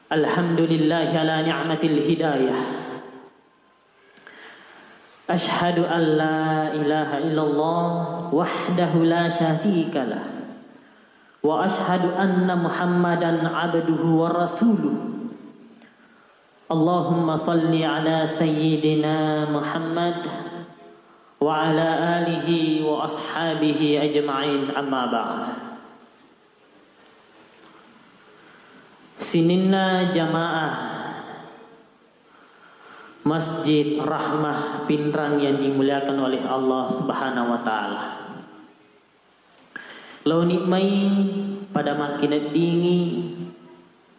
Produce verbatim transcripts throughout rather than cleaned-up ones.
Alhamdulillahi ala ni'matil hidayah. Asyhadu an la ilaha illallah wahdahu la syarika lah. Wa asyhadu anna Muhammadan abduhu wa rasuluh. Allahumma salli ala sayyidina Muhammad wa ala alihi wa ashabihi ajma'in, amma ba'd. Sininna jamaah Masjid Rahmah Pinrang yang dimuliakan oleh Allah Subhanahu wa Ta'ala. Laoni mai pada makkineddingi,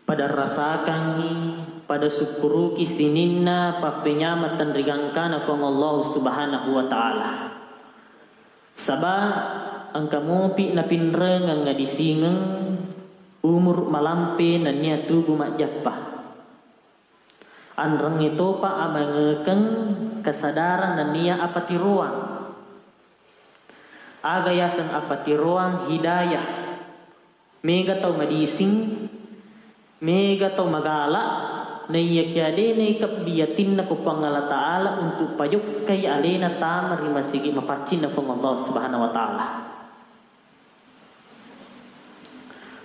pada rasakangngi, pada sukkuruki sininna pappenyameng tenrigangkana Puang Allah Subhanahu wa Ta'ala. Saba engka mopi napinrengeng adisingeng umur malampe nennia tubu majjappa. Anrengnge topa amangekeng kesadaran nennia apatiroang. Aga yaseng apatiroang? Hidayah. Mega tau madising, mega tau magala, naiyakiya de naikebbi yatinna ko Puang Allah Ta'ala untuk pajokkai alena tama ri masigi mapaccinna Puang Allah Subhanahu wa Ta'ala.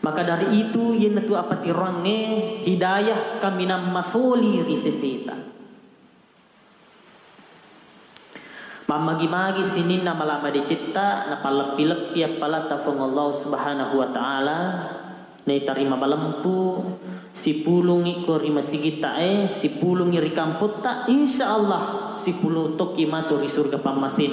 Maka dari itu, iyanatu apatiroangnge hidayah kaminang masoli ri seseta. Mammagi-magi sininna mala madecetta, napalleppi-leppi appalata Puang Allah Subhanahu wa Ta'ala, naitarima malempu, sipulungi ko ri masigitta e, sipulungi ri kampotta, insya Allah sipulung tokki matu ri surga pammasena.